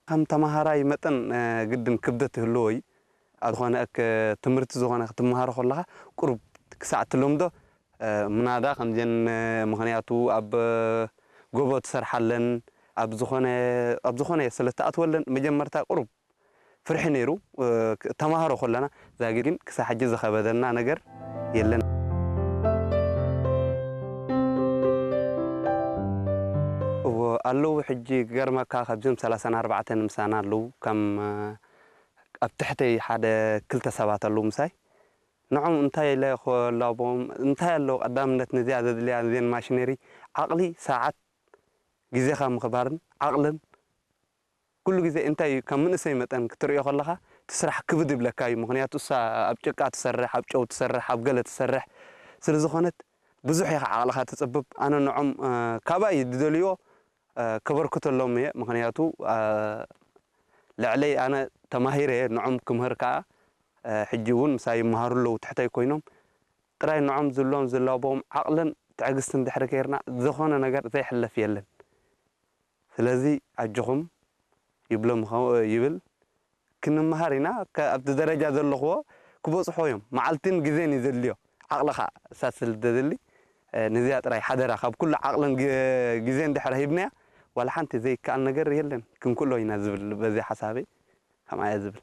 ከም ተማሃራይ መጠን ግድን ክብደት ይህልዎ እዩ። ኣብ ዝኾነ ትምህርቲ ዝኾነ ክትመሃሮ ከለኻ ቁሩብ ክሳዕ ትለምዶ ምናዳ ከምዘን፣ ምኽንያቱ ኣብ ጎቦ ትሰርሓለን ኣብ ዝኾነ ኣብ ዝኾነ ስለ ትኣትወለን መጀመርታ ቁሩብ ፍርሒ ነይሩ። ተማሃሮ ከለና ዛጊድ ግን ክሳብ ሕጂ ዝኸበደና ነገር የለን። እዎ ኣለዉ። ሕጂ ክገርመካ ካብዞም ሰላሳን ኣርባዕተን ምሳና ኣለዉ። ከም ኣብ ትሕተይ ሓደ ክልተ ሰባት ኣለዉ ምሳይ። ንዖም እንታይ ኢለ ክላቦም እንታይ ኣለዉ ቀዳምነት ነዚኣ ዘድልያ ነዚን ማሽነሪ ዓቕሊ ሰዓት ግዜኻ ምኽባርን ዓቕልን ኩሉ ግዜ እንታይ እዩ ካብ መንእሰይ መጠን ክትርእዮ ከለኻ እቲ ስራሕ ክብድ ይብለካ እዩ። ምኽንያቱ እሳ ኣብ ጭቃ ትሰርሕ፣ ኣብ ጨው ትሰርሕ፣ ኣብ ገለ ትሰርሕ ስለ ዝኾነት ብዙሕ ኢኻ ዓቕልኻ ትጽብብ። ኣነ ንዖም ካባይ ዝደልዮ ከበርክተሎም እየ። ምኽንያቱ ልዕለይ ኣነ ተማሂረ እየ፣ ንዖም ክምህር ከኣ ሕጂ እውን ምሳይ ይመሃሩ ኣለዉ ትሕተይ ኮይኖም። ጥራይ ንዖም ዝብሎም ዝላቦም ዓቕልን ትዕግስትን ድሕሪ ገይርና ዝኾነ ነገር ዘይሕለፍ የለን። ስለዚ ኣጆኹም ይብሎም ይብል። ክንመሃር ኢና፣ ኣብቲ ደረጃ ዘለኽዎ ክበጽሖ እዮም። መዓልትን ግዜን እዩ ዘድልዮ፣ ዓቕልኻ እሳ ስለ ዘድሊ ነዚኣ ጥራይ ሓደራ፣ ካብ ኩሉ ዓቕልን ግዜን ድሕሪ ሂብናያ ዋላ ሓንቲ ዘይከኣል ነገር የለን፣ ክንክእሎ ኢና ዝብል በዚ ሓሳበይ ከምኣ እየ ዝብል።